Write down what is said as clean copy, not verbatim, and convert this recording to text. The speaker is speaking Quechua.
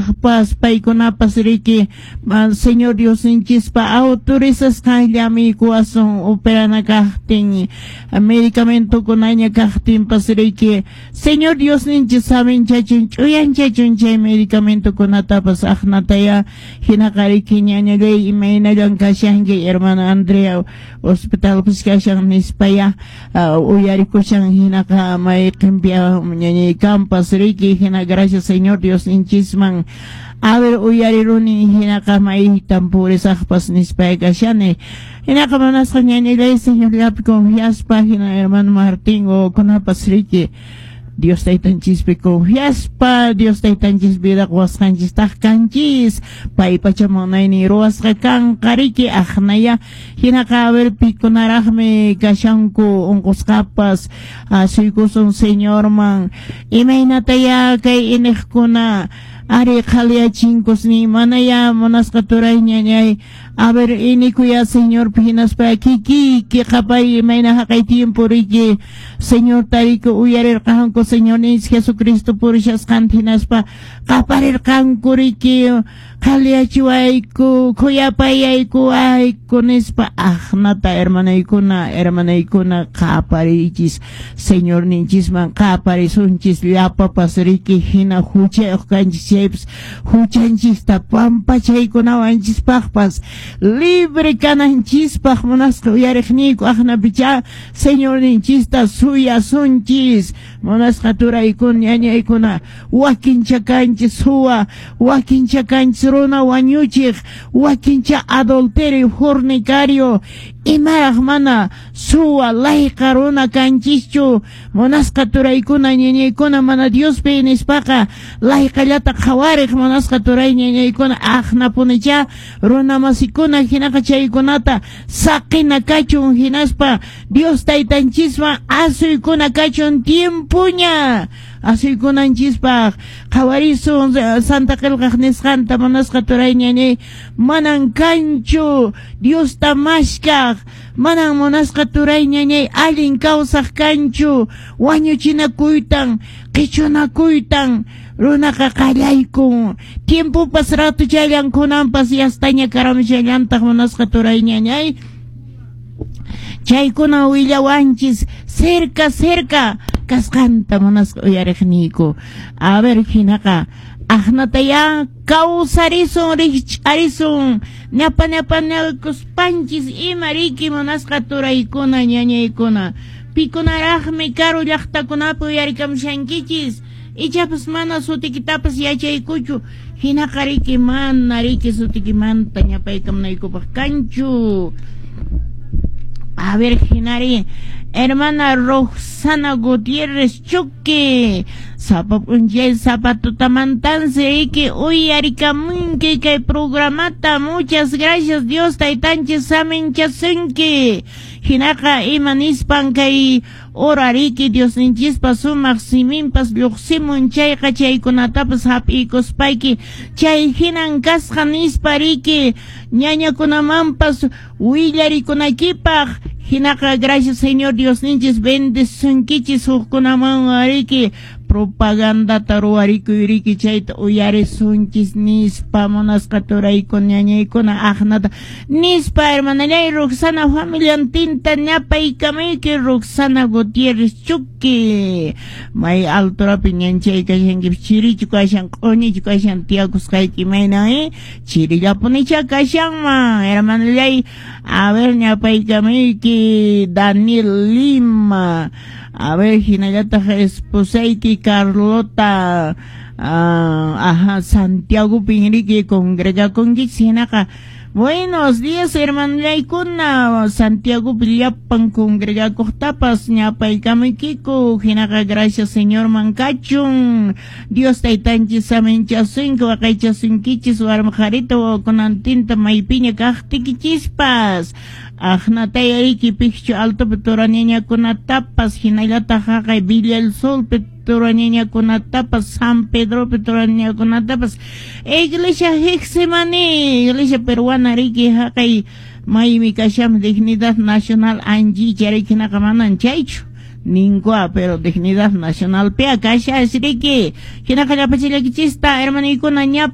kaqpas paykunapas riki Señor Diosninchispa autorizasqanllami kuwasun operana kaqtin, medicamentokunaña kaqtinpas riki Señor Diosninchis saminchachun, ch'uyanchachun chay medicamentokunatapas. Aqnataya hinaqa riki ñañallay, imaynallan kashanki? Hermana Andrea hospitalpis kashan nispaya uyarikushan. Hinaqa mayqinpi ñañay kampas riki, hina gracias Señor Diosninchisman. A ver, uyariruni, hinaqa maytan purisaqpas nispaya kashani. Hinaqa munasqa ñañallay, Señorllapi confiaspa, hina hermano Martín wawakunapas riki Dios Taytanchispi confiaspa, Dios Taytanchis vida quwasqanchistaq kanchis, paypacha munaynin ruwasqa kanqa riki. Aqnaya hinaqa a ver, pikunaraqmi kashanku unqusqapas? Asuykusun Señorman. Imaynataya kay iniqkuna ari qhaliyachinkus nin manaya? Munasqa turay, ñañay, a ver, inikuya Señorpi, hinaspa kikiyki qapay imayna haqay tiempo riki Señor tariko uyarirqanku Señorninchis Jesucristo purishasqanta, hinaspa qaparirqanku riki qhaliyachiwayku, khuyapayaykuwayku nispa. Aqnata hermanaykuna, hermanaykuna, qapariychis Señorninchisman, qaparisunchis llapapas riki. Hina huchayuq kanchis chaypas, huchanchista pampachaykunawanchispaqpas, libre kananchispaq, munasqa uyariqniyku, aqnapicha Señorninchista suyasunchis. Munasqa turaykuna, ñañaykuna, wakincha kanchis suwa, wakincha kanchis runa wañuchiq, wakincha adulterio, fornicario, imaraq mana suwa, layqa runa kanchischu? Munasqa turaykuna, ñañaykuna, mana Diospi nispaqa layqallata qhawariq, munasqa turay, ñañaykuna, aqnapunicha runa masikuna. Hinaqa chaykunata saqina kachun, hinaspa Dios Taytanchisman asuykuna kachun. Tiempoña asuykunanchispaq. Qhawarisun Santa Qillqaq nisqanta, munasqa turay, ñañay: manan kanchu Diosta mashkaq, manan, munasqa turay, ñañay, allin kawsaq kanchu. Wañuchinakuytan, qichunakuytan runaqa qallaykun. Tiempopas ratuchallan, kunanpas yastaña karamushallantaq, munasqa turay, ñañay. Chaykuna willawanchis cerca cerca kasqanta, munasqa uyariqniyku. A ver, hinaqa aqnataya kawsarisun, rikch'arisun, ñapa ñapanakuspanchis ima riki, munasqa turaykuna, ñañaykuna. Pikunaraqmi karu llaqtakunapi uyarikamushankichis? Ichapas mana sutikitapas yachaykuchu. Hinaqa riki mana riki sutikimanta ñapaykamunaykupaq kanchu. A ver, hinari hermana Roxana Gutiérrez Chuque, sapa p'unchay, sapa tutamantansi riki uyarikamunki kay programata. Muchas gracias, Dios Taytanchis saminchasunki. Hinaqa ima nispan kay hora riki Diosninchispa sumaq siminpas lluqsimun chayqa, chaykunatapas hap'iykuspayki chay hinan kasqa nispa riki ñañakunamanpas willarikunakipaq. Hinaqa gracias, Señor Diosninchis bendesunkichis. Hukkunaman riki propagandata ruwarikuy riki, chayta uyarisunchis nispa, munasqa turaykuna, ñañaykuna. Aqnata nispa, hermanallay Roxana, familiantinta ñapaykamayki. Roxana Gutiérrez Chuqui, may alturapi ñanchay kashanki? Chirichu kashan, q'uñichu kashan tiyakusqayki? Imayna chirillapunicha kashanman, hermanallay. A ver, ñapaykamayki Daniel Lima. A ver, hinallataq esposayki Carlota, ajá, Santiago Pinrique congregakunkichis. Hinaqa buenos días, hermanollaykuna. Santiago llapan congregakuqtapas ñapaykamaykiku. Hinaqa gracias Señorman kachun. Dios Taytanchis saminchasunki, waqaychasunkichis, warmi qharita wawakunantinta maypiña kaqtikichispas. Aqnataya riki Picchu Altopi turañañakunatapas, hinallataq haqay Villa el Solpi turañañakunatapas, San Pedropi turañañakunatapas, Iglesia Getsemaní, Iglesia peruana riki haqay maymi kashan Dignidad Nacional anchicha riki. Hinaqa manan chaychu ninkua, pero Dignidad Nacional pia kashas riki. Hinaqa llapachillakichista, hermanaykuna, ñap